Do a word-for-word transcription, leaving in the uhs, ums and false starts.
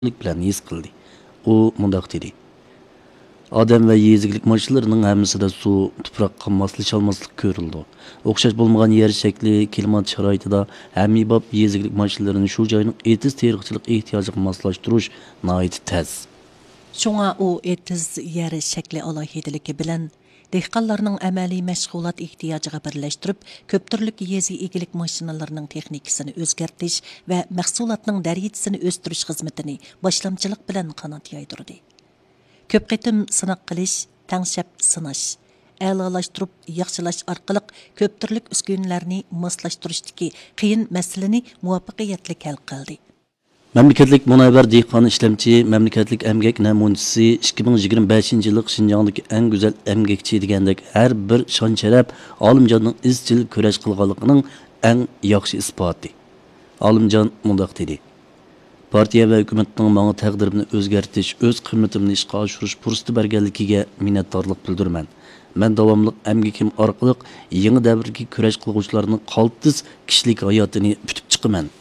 بىلەن ھېس قىلدى. ئۇ مۇنداق دېدى: ئادەم ۋە يېزا ئىگىلىك ماشىنىلىرىنىڭ ھەممىسىدە سۇ، تۇپراققا ماسلىشالماسلىق كۆرۈلىدۇ. ئوخشاش بولمىغان يەر شەكلى، كىلىمات شارائىتىدا ھەممىباب يېزا ئىگىلىك ماشىنىلىرىنى شۇ جاينىڭ ئېتىز تېرىقچىلىق ئېھتىياجىغا ماسلاشتۇرۇش ناھايىتى تەس. شۇڭا ئۇ ئېتىز يەر شەكلى ئالاھىدىلىكى بىلەن دېھقانلارنىڭ ئەمەلىي مەشغۇلات ئېھتىياجىغا بىرلەشتۈرۈپ، كۆپ تۈرلۈك يېزا ئىگىلىك ماشىنىلىرىنىڭ تېخنىكىسىنى ئۆزگەرتىش ۋە مەھسۇلاتنىڭ دەرىجىسىنى ئۆستۈرۈش خىزمىتىنى باشلامچىلىق بىلەن قانات يايدۇردى. كۆپ قېتىم سىناق قىلىش، تەڭشەپ سىناش، ئەلالاشتۇرۇپ ياخشىلاش ئارقىلىق كۆپ تۈرلۈك ئۈسكۈنىلەرنى ماسلاشتۇرۇشتىكى قىيىن مەسىلىنى مۇۋەپپەقىيەتلىك ھەل قىلدى. مەملىكەتلىك مۇنەۋۋەر دېھقان ئىشلەمچى مەملىكەتلىك ئەمگەك نەمۇنىچىسى ئىككى مىڭ يىگىرمە بەشىنچى يىللىق شىنجاڭدىكى ئەڭ گۈزەل ئەمگەكچى دېگەندەك ھەر بىر شان-شەرەپ ئالىمجاننىڭ ئىزچىل كۈرەش قىلغانلىقىنىڭ ئەڭ ياخشى ئىسپاتى. ئالىمجان مۇنداق دېدى: پارتىيە ۋە ھۆكۈمەتنىڭ ماڭا تەقدىرىمنى ئۆزگەرتىش، ئۆز قىممىتىمنى ئىشقا ئاشۇرۇش پۇرسىتى بەرگەنلىكىگە مىننەتدارلىق بىلدۈرىمەن. مەن داۋاملىق ئەمگىكىم ئارقىلىق يېڭى دەۋردىكى كۈرەش قىلغۇچىلارنىڭ قالتىس كىشىلىك ھاياتىنى پۈتۈپ چىقىمەن.